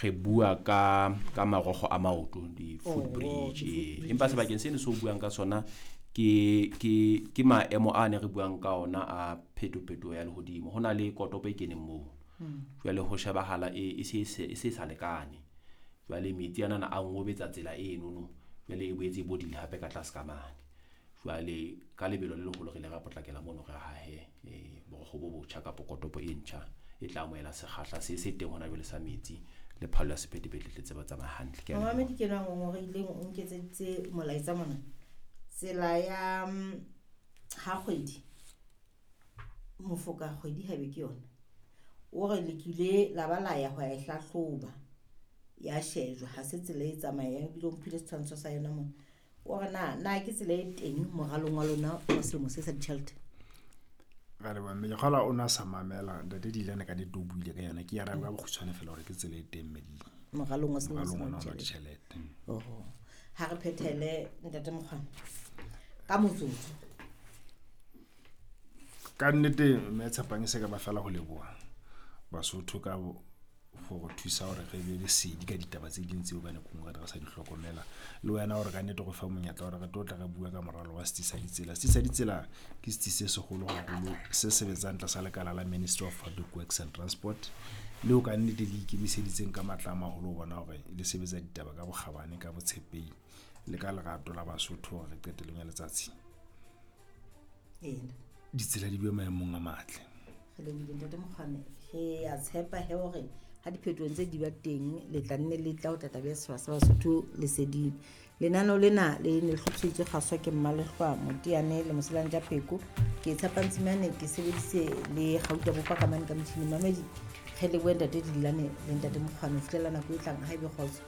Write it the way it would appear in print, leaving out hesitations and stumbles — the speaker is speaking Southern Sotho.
Re bua ka marogo a maoto, di-foot Oh, bridge. di-foot Ee. Empa sebakeng seno se o buang ka sona ke maemo a ne re buang ka ona a phetophetoho ya lehodimo. Ho na le kotopo e keneng moo. Jwale ho shebahala e se sa lekane. Jwale metsi anana a ngobetsa tsela enono, jwale e boetse e bodile hape ka tlase ka mane. Jwale ka lebelo le leholo re ile ra potlakela mono, re hahe borokgo bo botjha kapa kotopo e ntjha e tla amohela sekgahla se teng hona jwale sa metsi le phallo ya sephethephethe tle tsebe ho tsamaya hantle. Ke a leboha. Momamedi ke enwa a ngongoreileng, o nketseditse molaetsa mona. Tsela ya ha kgwedi, mofoka kgwedi haebe ke yona. O re le kile la ba la ya ho ya e hlahloba, ya shejwa, ha se tsela e tsamayang, ebile o mphile setshwantsho sa yona mona. O re na ke tsela e teng moralong wa lona wa selemo se sa ditjhelete? Ra leboha, mme ke kgolwa o na sa mamela ntate Dilane, ka nnete o buile ka yona. Ke arabe ka bokgutshwane fela hore ke tsela e teng, mme moralong wa selemo moralong sena ona wa wa ditjhelete. ditjhelete. Oho. Ha re phethele, ntate Mokgwana, ka motsotso. Ka nnete, mme Tshepang, e se ka ba fela ho leboha Basotho ka go re thusa hore re be lesedi ka ditaba tse ding tseo ka nako e nngwe re sa di hlokomela, le wena hore ka nnete go fa monyetla hore re tlo tla re bua ka moralo wa setsi sa ditsela. Setsi sa ditsela ke setsi se seholo haholo se sebetsang tlasa lekala la Ministry of Public Works and Transport, leo ka nnete le ikemiseditseng ka matla a maholo ho bona hore le sebetsa ditaba ka bokgabane, ka botshepehi le ka lerato la Basotho, hore qetellong ya letsatsi Ena. ditsela di be maemong a matle. Re lebohile, ntate Mokgwane. Re a tshepa he hore ha diphetoho tse di ba teng, le tla nne le tla ho tla tla beha setjhaba sa Basotho leseding. Lenaneo lena le ne le hlophiseditswe kgaswa ke Mmalehlwa Moteane le Moselantja Pheko. Ke tshepa Ntsimane, ke sebedise le Gauta Bopa ka mane ka motjhining. Mamedi, re lebohe ntate Dilane le ntate Mokgwane ho fihlela nako e tlang. Ha ebe kgotso.